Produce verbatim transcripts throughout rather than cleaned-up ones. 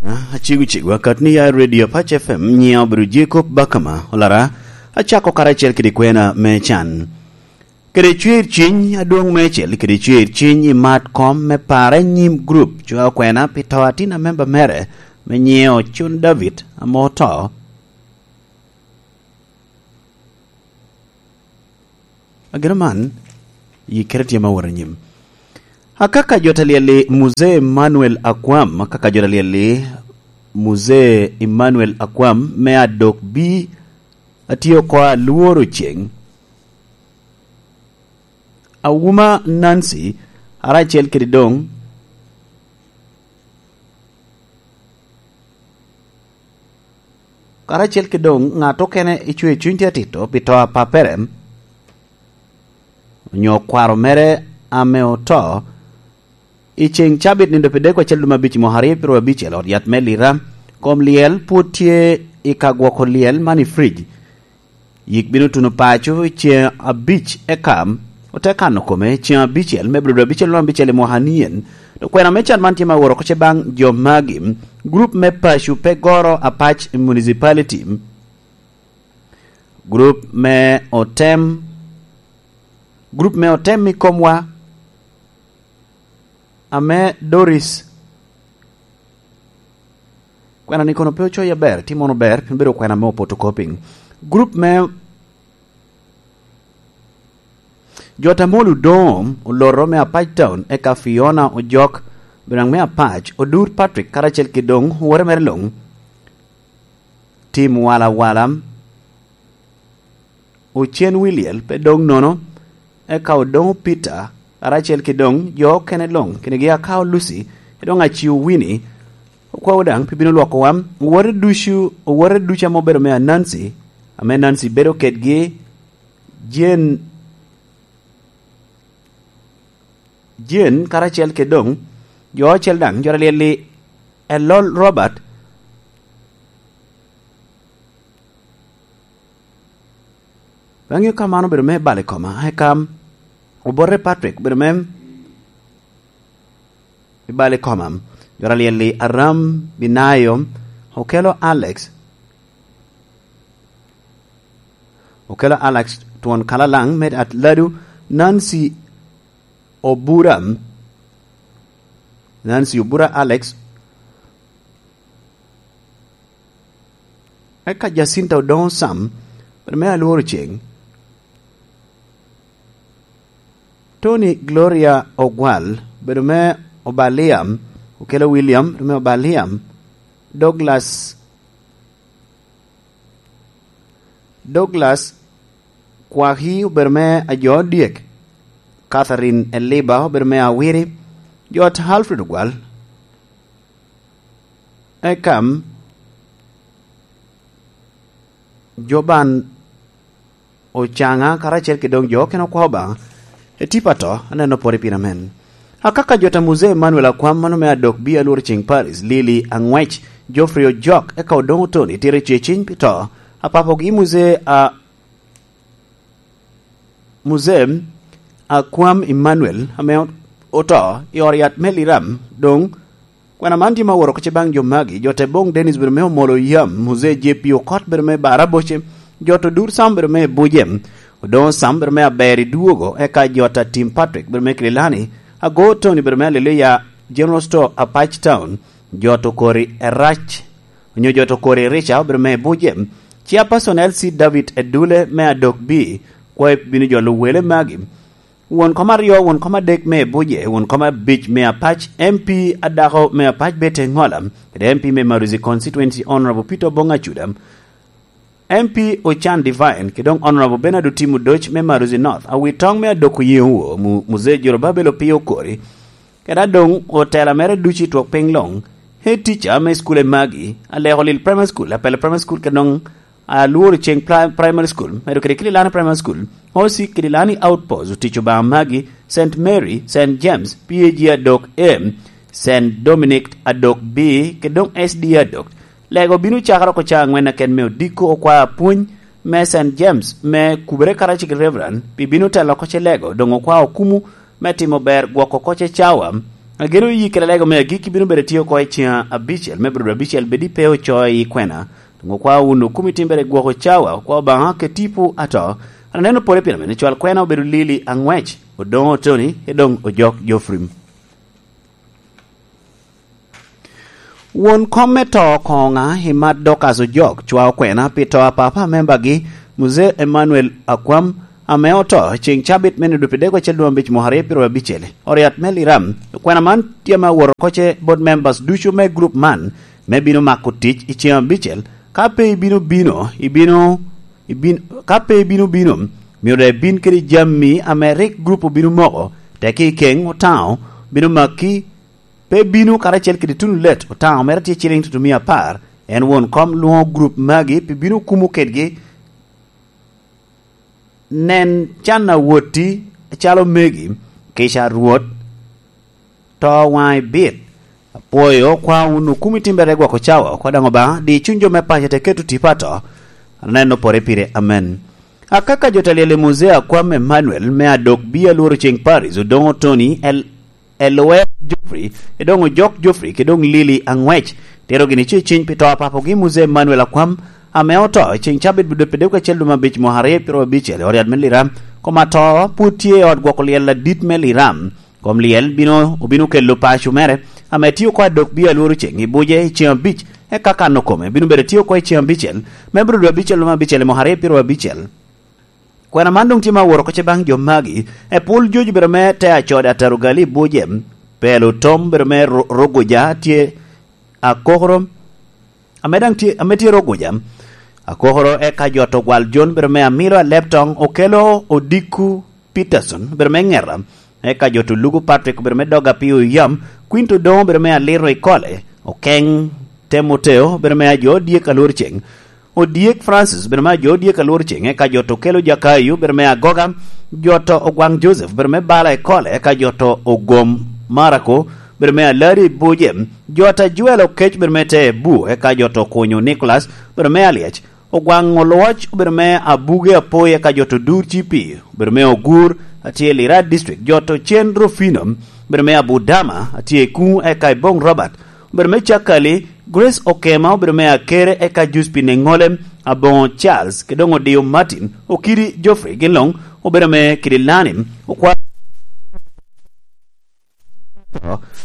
Acego cego akat ni ya Radio Apac F M, nyiŋa obedo Jacob Bakama Olara, acako karacel kede kwena me can. Kede cwer cwiny adwoŋ meicel, kede cwer cwiny i mat kom me pare nyim grup cwa okwena pi to atin a memba mere me nyiŋe Ocun David ame oto. Ageno man, yikkere tye ma wot anyim. Akaka jo ta lyel-li Muzee Emmanuel Akwam, akaka jo ta lyel-li Muzee Emmanuel Akwam me adok bi atye oko alworo ceŋ. Awuma Nancy, aracel kede doŋ, karacel kede doŋ ŋat okene icwe cuny tye atito pi to a pappere, onyo kwaro mere ame oto, i ceŋ cabit nindo pi dek acel dum abic i mwaka aryo pyero abic i ot yat me Lira, kom lyel pwod tye i ka gwoko lyel man i fridge. Yik bino tuno paco i ceŋ abic, eka ote kano kome ceŋ abicel me Abril abicel luŋ abicel i mwaka nien. Dok kwena me can man tye ma woro oko ce baŋ jo magi. Grup me paco pe goro Apac Municipality. Grup me otem, grup me otem i komwa ame Doris. Kwena ni kono pe ocoyi aber, tye mono ber, pien bedo kwena me photocopying. Grup me jo Tamol Odom oloto me Apac Town, eka Fiona Ojok, binaŋ me Apac, Odur Patrick, karacel ki doŋ wore mere luŋ. Tim Wala Wala, Ocen Wiliel pe doŋ nono, eka Odoŋo Peter, karacel ki doŋ jo okene luŋ, kinigi Akao Lucy, ki doŋ Aciu Winnie, okwawa daŋ pi bino lwokowa. Owote ducu, owote ducu ame obedo me Ananci, ame Nancy bedo kedgi, Jane, Jane, karacel ki doŋ jo ocel daŋ, jo ta lyel-li Elol Robert. Bang'e ka man obedo me balo i koma, eka obote Patrick obedo me i balo i koma. Jo ta lyel-li Aram, Binayo, Okelo Alex, Okelo Alex twon Kalalaŋ me Atladu, Nancy Obura, Nancy Obura Alex, eka Jacinta Odoŋo Sam, bedo me Alworo Ceŋ. Tony Gloria Ogwal, bedo me Obaliam, Okelo William, bedo me Obaliam, Douglas, Douglas Kwaki obedo me Ajo Dyek, Catherine Eliba obedo me Awiri, jo ot Alfred Ogwal, Ekam, Joban Ocaŋa, karacel ki doŋ jo okene okwa Obaŋa. Etipa to, aneno pwod i pira men. Akaka jo ta Muzee Emmanuel Akwam, mano me adok bi Alworo Ceŋ Paris, Lili Aŋwec, Geoffrey Ojok, eka Odoŋo Tony, tira i ceciny pi to. Apapogi Muzee a, Muzee Akwam Emmanuel, ame oto i ot yat me Liram, doŋ kwena man tye ma woro oko ce baŋ jo magi, jo te boŋ Dennis bedo me Omolo Yam, Muzee J P Okot bedo me Baraboce, jo to Dur Sam bedo me Buje, Odoŋo Sam bedo me Aber i Dwogo, eka jo ta Tim Patrick bedo me Kililani, Ago Tony bedo me Alilia General Store Apac Town, jo to kori Erac, onyo jo to kori Rica obedo me Buje, Chairperson L C David Edule me Adok B, kwayo bino jolo wele magi. Won kom aryo, won kom adek me Buje, won kom abic me Apac, M P adako me Apac Betty Ŋola, kede M P me Maruzi Constituency Honorable Peter Obong Acuda, M P Ochan Divine, kede doŋ Honorable Bernard Otim Odoc me Maruzi North, awitoŋ me adoko yeŋo wo, mu-, Muzee Jorobabel Opio Okori, kede adoŋ otela mere ducu i twok piny luŋ, head teacher me school e magi, Aleko Lil Primary School, Apele Primary School, kede doŋ Alworo Ceŋ Pri-, Primary School, medo kede Kililani Primary School, O C Kililani Outpost, Otic Obaŋa Magi, Saint Mary, Saint James, P A G Adok A, Saint Dominic Adok B, kede doŋ S D A Adok. Lego bino cakere oko ca aŋwen aken me odiko, okwao apwony me Saint James me kubere karacel ki Reverend, pi bino telo oko ce lego, doŋ okwao okumu me timo ber gwoko oko ce cawa, Ageno iyi kede lego me agikki bino bedo tye oko i cen abicel me brudo abicel bed i pe ocoyo i kwena. Doŋ okwa wunu kumi timbere gwoko cawa, okwa Obaŋa ke tipo ato. Aneno pore pire mene cwal kwena obedo Lili Aŋwec, Odoŋo Tony, e doŋ Ojok Jofrim. Won kom me to koŋa i mat Dorcas Ojok cwa okwena pi to a papa a membagi, Mzee Emmanuel Akwam, ame oto ceŋ cabit me nino dwe pyeraryo acel dwe abic mwaka aryo pyeraryo abicel, oriat me Liram. Okwena man tye ame awot oko ce bot members ducu me group man me bino mako tic i ceŋ abicel. Ka pe ibino bino, ibino, ibin-, ka pe ibino bino, myero daŋ ibin kede jami ame rik group obino moko, teki i keŋ Otaŋo bino maki, pe bino karacel kede Tunu Let Otaŋo mere tye ciliŋ tutumia apar, en won kom lwoŋo group magi pi bino kumo kedgi. Nen can a wotti acalo megi, kica a Rwot, to waŋ ibit. Apwoyo kwa wun okumi timbere gwoko cawa oko daŋ Obaŋa di cuny jo me paco te keto tipo ato. Aneno pore pire, amen. Akaka jo talyel i Muzea Kwam Emmanuel me adok bi alworo ceŋ Paris Odoŋo Tony el Elwer Geoffrey, edoŋ Ojok Geoffrey, ke doŋ Lili Aŋwec, tero gini ce ciny pi to a papogi Mzee Emmanuel Akwam, ame oto i ceŋ cabit dwe pi dek acel dwe me abic mwaka aryo pyeraryo abicel i ot yat me Liram. Kom ato pwod tye i ot gwoko lyel adit me Liram. Kom lyel bino, obino kelo paco mere, ame tye oko adok bi alworo ceŋ i buce i ceŋ abic, eka kano kome bino bedo tye oko i ceŋ abicel, me brudo abicel dwe me abicel i mwaka aryo pyeraryo abicel. Kwena man doŋ tye me aworo oko ce baŋ jo magi. Epul jojo bedo me te acode ataro gali i buje. Pelo tom bedo me ro-, rogoja tye akokoro. Ame daŋ tye, ame tye rogoja. Akokoro eka jo to gwal Jon bedo me amilo alep toŋ okelo odiko Peterson bedo me ŋeta. Eka jo to lugo Patrick bedo me doga pi oyam. Kwin to doŋo bedo me aliro i kole. Okeŋ Temoteo bedo me ajo dyek alwor ceŋ. Odyek Francis bedo me ajo odyek alwor ceŋ, eka jo to kelo Jakayo bedo me agoga, jo to ogwaŋ Joseph bedo me bala i kole, eka jo to ogom Marako bedo me alari i buce, jo ta Joel okec bedo me te bu, eka jo to kunyo Nicholas bedo me alyec, ogwaŋ olwoc obedo me abuge apoyi, eka jo to dur cipi obedo me ogur, atye i Lira District, jo to cen Rufino bedo me Abudama, atye i kuŋ, eka i Boŋ Robert, obedo me Cakali, Grace Okema obedo me Akere, eka Juspin Eŋole, Aboŋo Charles, ke doŋ Odiyo Martin, Okidi Geoffrey, gin luŋ obedo me Kidilani, okwa-,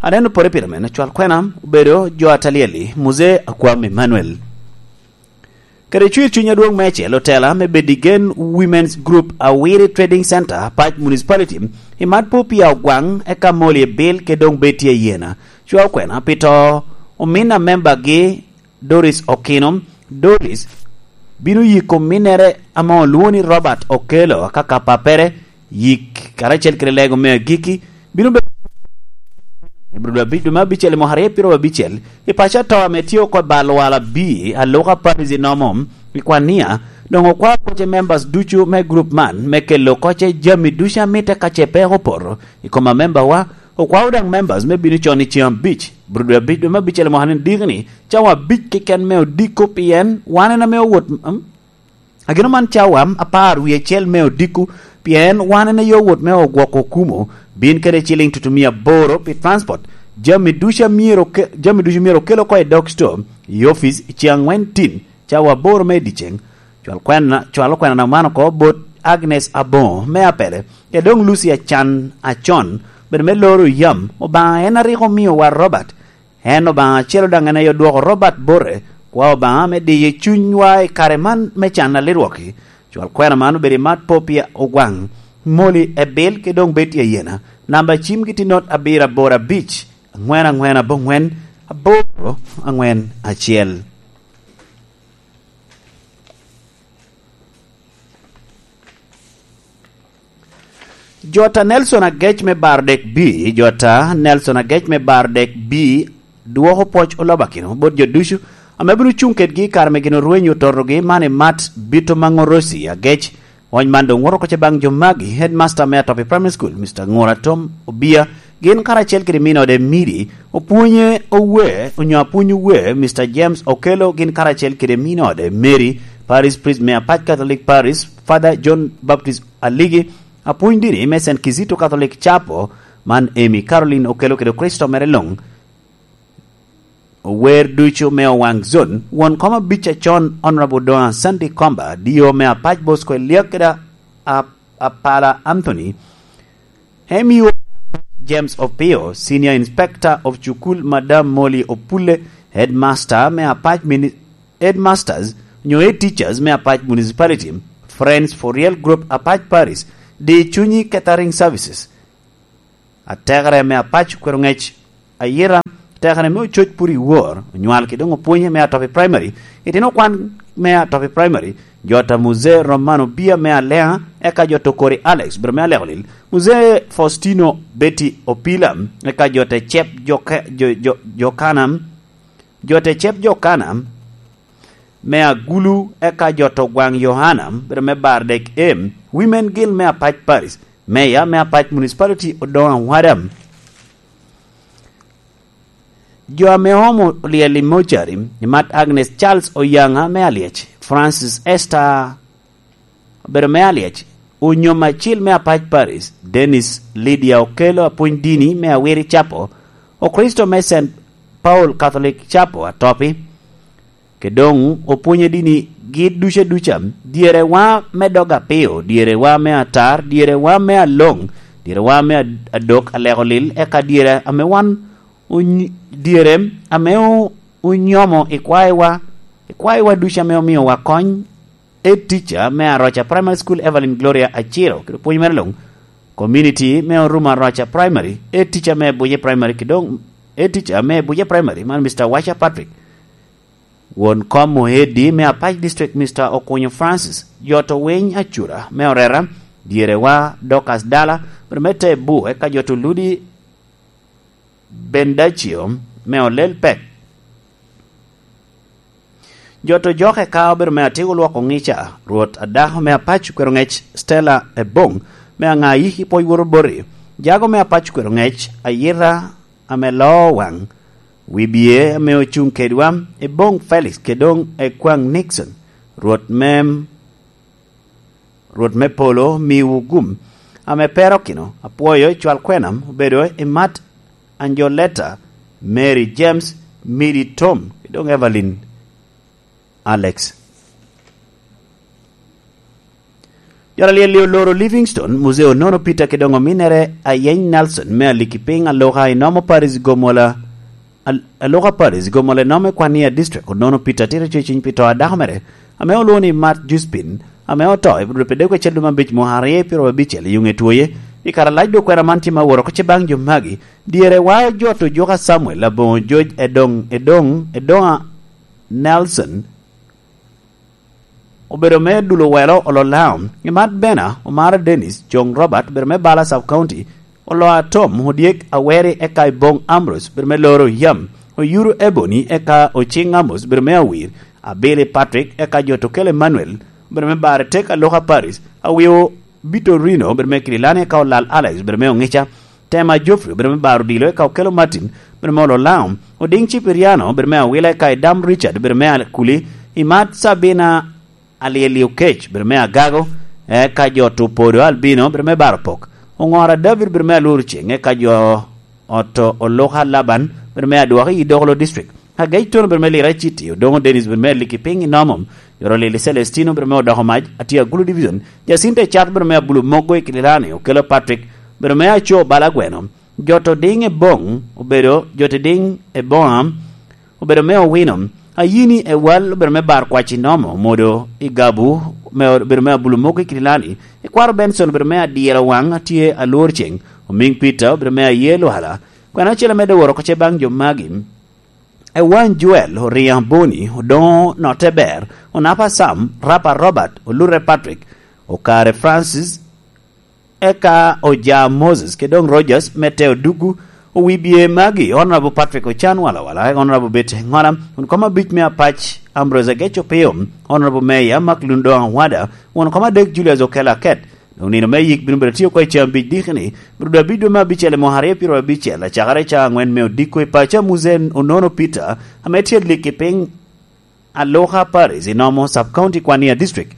aneno pore pire men, cwal kwena obedo jo atalyeli, Muzee Akwam Emmanuel. Kede cwir cuny adwoŋ meicel, otela me Bedigen Women's Group Awiri Trading Center, Pac Municipality, i mat Popia Ogwaŋ, eka Molly Ebil, ke doŋ Betty Ayena, cwa okwena pi to omin a membagi Doris Okino. Doris bino yiko ominnere ame olwoŋo ni Robert Okello, aka ka pappere, yik karacel kede lego me agikki, bino bedo i Abril abic, dwe me abicel i mwaka aryo pyeraryo abicel, i paco ato ame tye oko i bal wala bi aluka Paris i nomo i Kwania, doŋ okwao koce members ducu me group man me kelo koce jami ducu a mitte ka ce peko opoto i kom amembawa. Okwao daŋ members me bino con i ceŋ abic, Abril dwe abic, dwe me abicel i mwaka ni diki ni, cawa abic keken me odiko, pien wan en ame owot, mm, Ageno man cawa apar wie acel me odiko, pien wan en aye owot me ogwoko okumo, bin kede ciliŋ tutumia aboro pi transport, jami ducu a myero oke-, jami ducu myero okel oko i dog store, i ofic, i ceŋ aŋwen tin, cawa aboro me i dyeceŋ. Cwal kwena, cwal okwena na man oko bot Agnes Aboŋo me Apele, kede doŋ Lucy Acan Acon, bedo me loro yam, Obaŋa en a rik omiowa Robert, En Obaŋa acel daŋ en aye odwoko Robert bote, kwa Obaŋa me diyo cunywa i kare man me can a lirwok-ki. Cwal kwena man obedo i mat Popia Ogwaŋ, Moli Ebil, ke doŋ Betty Ayena. Namba cimgi tye not abiro aboro abic, aŋwen aŋwen abongwen, aboro aŋwen acel. Jota Nelson Agec me Bardek B, Jota Nelson Agec me Bardek B, dwoko pwoc olobakino bot jo ducu ame bino cuŋ kedgi i kare me gin orwenyo ototogi man i mat Bito Maŋorosi Agec. Ony man doŋ woto oko ce baŋ jo magi, headmaster me Atopi Primary School, Mister Ŋura Tom Obia, gin karacel kede min ode Miri, opwonye owe, onyo apwony owe, Mister James Okello, gin karacel kede min ode Mary, Parish Priest me Apac Catholic Parish, Father John Baptist Aligi, apwony dini me Saint Kizito Catholic Chapel, Man Amy Caroline okelo kede Kricito mere luŋ. Ower ducu me Owaŋ Zone, won kom abic acon Honorable Doŋa Sandy Komba, D O me apac Bosco Eliak kede a-, Apala Anthony, M U James Opio, Senior Inspector of Cukul Madam Molly Opulle, Headmaster me apac mini-, Headmasters nyo Head Teachers me apac Municipality, Friends for Real Group apac Paris, Di Cunyi Catering Services, atekere me apac Kweroŋec, Ayira, atekere me Ococ Puri Wor, onywal kede doŋ opwonye me Atopi Primary, itino kwan me Atopi Primary, Jota Muzee Romano Bia me Alea, eka Jota Okori Alex, bedo me Aleko Lil, Muzee Faustino Betty Opila, eka Jota Cep Joka-, Jo-, Jo-, Jokana, Jota Cep Jokana, me Agulu, eka Jota Ogwaŋ Yohana, bedo me Bardek M, Women Guild me apac Paris, Meya me apac Municipality Odoŋ Awada. Jo ame oomo olyel i mocari, imat Agnes Charles Oyaŋa me Alyec, Francis Esther, obedo me Alyec, Onyom Acil me apac Paris, Dennis Lydia Okello apwony dini me Awiri Capo, Okristo me Saint Paul Catholic Capo Atopi, ke doŋ opwonyo dini gi duca duca, dyerewa me dog apio, dyerewa me atar, dyerewa me aloŋ, dyerewa me ad-, adok aleko lil, eka dyere ame wan onyi-, dyere ame o-, onyomo i kwayowa, i kwayowa ducu ame omiowa kony, Head Teacher me Aroca Primary School, Evelyn Gloria Aciro, kede pwony mere luŋ, Community me Orumo Aroca Primary, Head Teacher me Buje Primary, kede doŋ Head Teacher me Buje Primary, man Mister Wacha Patrick, won kom Muheddi me Apac District, Mister Okunyo Francis, Jot Owiny Acura me Orera, dyerewa Dorcas Dala, bedo me Tebu, eka Jot Oludi Bendacio me Olel Pek. Jot Ojoke ka obedo me Atiko Lwoko Ŋica, Rwot Adako me Apac Kwero Ŋec, Stella Ebong me Aŋayi i Pwony Woro Boti, Jago me Apac Kwero Ŋec, Ayira ame Loo Waŋ, Wibie ame Ocuŋ Kedwa, Ebong Felix, kede doŋ Ekwaŋ Nixon, Rwot me, Rwot me Polo miwu gum, ame Perokino, apwoyo cwal kwena obedo i mat Anjoleta, Mary James, Midi Tom, kede doŋ Evelyn Alex. Jo alyel oloro Livingstone, Muzee Onono Peter kede doŋ ominere Ayeny Nelson me Alikipiny Aloka i Nomo Paris Gomola, Al-, Aloka Paris Gomola i Nomo i Kwania District. Onono Peter tye tye cwiny pi to a dako mere, ame olwoŋo ni Mat Juspin, ame oto i Budul Pedeko acel dwe me abic mwaka aryo pyero abicel i Yuŋe Twoye. I kare alac dok kwena man tye ma woro oko ce baŋ jo magi, dyere wa Jot Ojuka Samuel, Aboŋo Joj, Edoŋ, Edoŋ, Edoŋa Nelson, obedo me Dulo Welo Ololao, Imat Bena, Omara Dennis, Joŋ Robert, obedo me Bala Sub County, Oloa Tom, Odyek Aweri, eka Iboŋ Ambrose, obedo me Loro Yam, Oyuru Ebony, eka Ociŋ Amos, obedo me Awir, Abili Patrick, eka Jot Okel Emmanuel, obedo me Bare Tek Aloka Paris, Awio Bitorino, obedo me Kililani, eka Olal Alex, obedo me Oŋica, Tema Geoffrey, obedo me Baro Odilo, eka Okello Martin, obedo me Ololao, Odiŋ Cipiriano, obedo me Awila, eka Idam Richard, obedo me Akuli, Imat Sabina Alyeli Okec, obedo me Agago, eka Jot Opodo Albino, obedo me Baro Pok, Oŋora David, obedo me Alur Ceŋ, eka jo Oto Oluka Laban, obedo me Adwoki i Dokolo District. Agec Tono obedo me Lira City, Odoŋo Dennis obedo me Liki Piny i Nomom, Yoro Lili Celestino obedo me Odoko Mac, Atye Agulu Division, Jacinta Ecat obedo me Abulu Mogo i Kililani, Okello Patrick obedo me Aco Bala Gweno, Jot Odiŋ Eboŋ obedo, Jot Odiŋ Eboŋa obedo me Owino, Ayini Ewal obedo me Bar Kwac i Nomo, Modo i Gabu me, obedo me Abulu Mogo i Kililani, Ikwaro Benson obedo me Adyero Waŋ, Atye Alwor Ceŋ, Omiŋ Peter obedo me Aye Lwala. Kwena acel amedde woro oko ce baŋ jo magi. Ewany Joel, Oriŋo Boni, Odoŋo Notte Ber, Onapa Sam, Rapa Robert, Olure Patrick, Okare Francis, eka Oja Moses, kede doŋ Rogers, me Teo Dugu, Owibie magi, Honorable Patrick Ochan Walawala, Honorable Betty Ŋola, won kom abic me Apac, Ambrose Agec Opio, Honorable Mayor Mark Lundoŋ Awada, won kom adek Julius Okello Aket, Doŋ nino me yik bino bedo tye oko i caa abic dikini, bino dwe abic dwe me abicel i mwaka aryo pyero abicel, acakere i caa aŋwen me odiko i paco a Muzee Onono Peter, ame tye lik i piny Aluka Paris i Nomo Sub County Kwania District.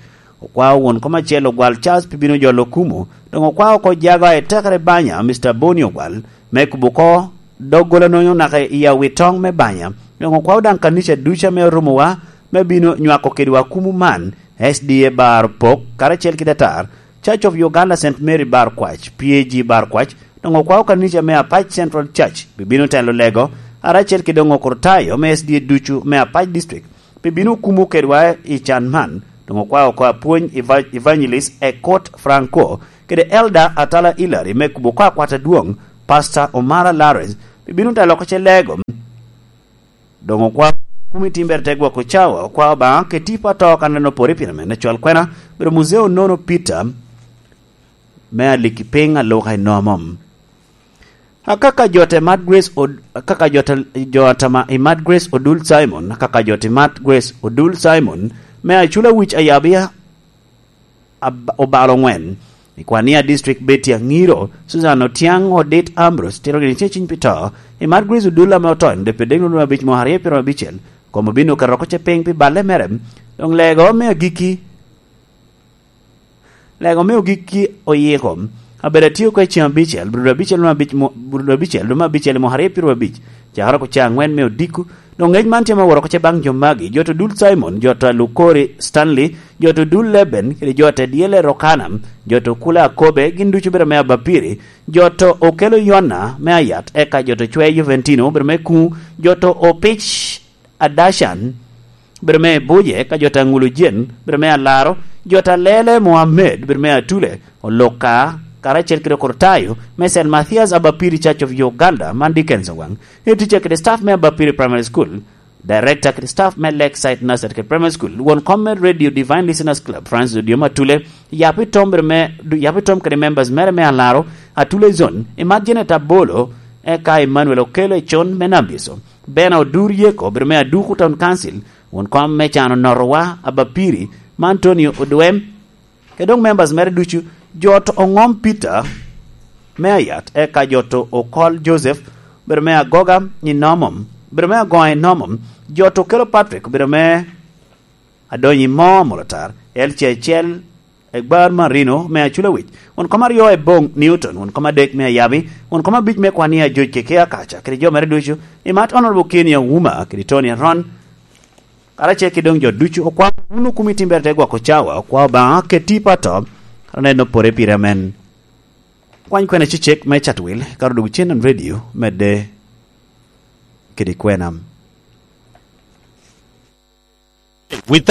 Okwao won kom acel Ogwal Charles pi bino jolo Okumu, doŋ okwao oko jago a etekere banya, Mister Boni Ogwal, me kubo oko doggola nonyo naka i awi toŋ me banya. Doŋ okwao daŋ kanica ducu ame orumowa me bino nywako kedwa Okumu man, S D A Bar Pok, karacel kede atar, Church of Uganda Saint Mary Bar Kwac, P A G Bar Kwac, doŋ okwao kanica me Apac Central Church pi bino telo lego, karacel kede oŋokoro tayo me S D A ducu me Apac District, pi bino kumo kedwa i can man. Doŋ okwao oko apwony eva-, Evangelist Ekot Franco, kede Elder Atala Hilary me kubo oko akwat adwoŋ, Pastor Omara Lawrence, pi bino telo oko ce lego. Doŋ okwao kumi timbere te gwoko cawa, okwao Obaŋa ke tipo ato kan en opore pire mene cwal kwena, bedo muzeo nono Peter, me aliki piny aluka i nomom. Akaka jo te Mad Grace Od-, akaka jo te, jo atama i Mad Grace Odul Simon, akaka jo te Mad Grace Odul Simon, me acula wic ayabia ab-, obalo ŋwen. I Kwania District, Betty Aŋiro, Susan Otiaŋ, Odit Ambrose, tiro gini ce ciny pi to. I Mad Grace Odul ame oto en dwe pyeradek nwoŋo abic mo aryo pyerabicel, kom obino keto oko ce piny pi balle mere. Doŋ lego me agikki, lego me ogikki oyiko. Abedo atio oko i ceng abicel, brudo abicel nwoŋo abic mo-, brudo abicel nwoŋo abicel mo aryo pyerabicel. Cakere oko ce aŋwen me odiko, doŋ ngec man tye me woro oko ce baŋ jo magi, jo to dul Simon, jo to Lukori Stanley, jo to dul Leben, kede jo to Diele Rokana, jo to Kula Akobe, gin ducu bedo me Abapiri, jo to Okelo Yona me Ayat, eka jo to Cwe Juventino bedo me Kuŋ, jo to Opic Adashan bedo me Buje, eka jo to Aŋulu Jen bedo me Alaro, jo to Alele Mohammed bedo me Atule, Oloka, karacel kede Okortayo, me Saint Mathias Abapiri Church of Uganda, man Dickens Owaŋ, e ticca kede staff me Abapiri Primary School, Director kede staff me Lakeside Nursery kede Primary School, won kom me Radio Divine Listeners Club, Francis Odioma Atule, Yapi Tom bedo me, du-, Yapi Tom kede members mere me Alaro, Atule Zone, Imat Janet Abolo, eka Emmanuel Okelo Econ me Nambiso, Bena Odur Yeko bedo me Aduku Town Council, won kom me Cano Notowa Abapiri, ma Antonio Odwem, kede doŋ members mere ducu, jo to Oŋom Peter me Ayat, eka jo to Okol Joseph, bedo me Agoga i Nomom, bedo me Agoŋa i Nomom, jo to Okelo Patrick, bedo me Adonyi Mo Molotar, L C H L, Egbar Marino me Acula Wic, won kom aryo Eboŋ Newton, won kom adek me Ayabi, won kom abic me Kwania Joc Keke Akaca, kede jo mere ducu, Imat Honorable Kenny Auma, kede Tony Aron, karacel kede doŋ jo ducu, okwao wunu kumi timbere te gwoko cawa, okwao Obaŋa keti pato, aneno pore pire amen. Kwany kwena cecek me Chatwil, karo dwogo cen radio, medde kede kwena. With